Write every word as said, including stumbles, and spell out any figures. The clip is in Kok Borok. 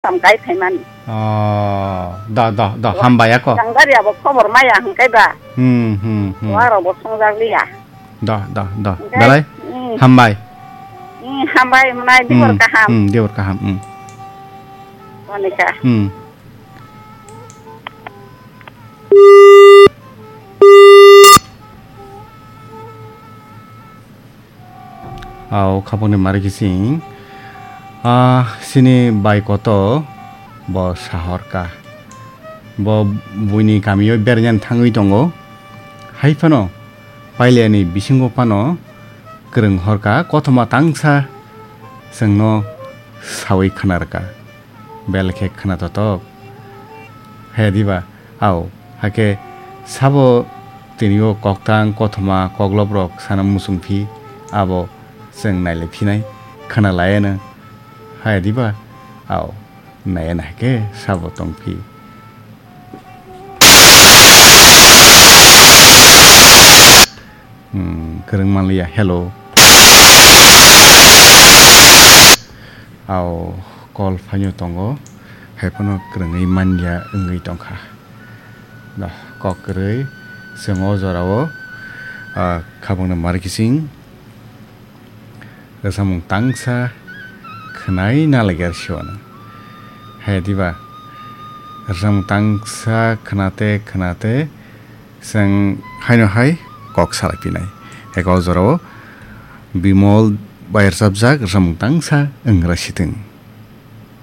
Samkai phaimani. Oh, da, da, da, hambai ako. Sangari abo khobor maya hwnkhe ba. Hmm, hmm, hmm. Warok bo songjak liya. Da, da, da. Hwnkhe, belai hmm. Hambai. Hmm, hambai mwnai dibor hmm, kaham. Hmm, dibor kaham. Hmm. Monika. Hmm. Au khapangni mari kising. Ah, sini bai koto bo sahorka. Bo buini kamio berjan thangwi tongo. Hai phano pailani bisingo phano kwrwng horka kothoma tangsa chwngno sawi khwnarka. Bel khe khna totok. He diba? Au, hakhe sabo tini o koktang, kothoma, kokloprok sana muchung phi, abo chwng nailai phinai, khna laiano. Hai diba? Au, naiano hakhe sabo tong phi. Hmm, kwrwng manliya. Hello. Au, call phaino tongo. Hai phano kwrwngwi manya wngwi tongkha. Da, kok kwrwi. Chwng o jorao, ah, khabangno mari kising. Rwchapmung tangsa khwnai nalaikhe siwano. Hai diba? Rwchapmung tangsa khwnate khwnate chwng haino hai kok salai pinai. Eko jorao Bimol bai rwchapjak rwchapmung tangsa wngra sitwng.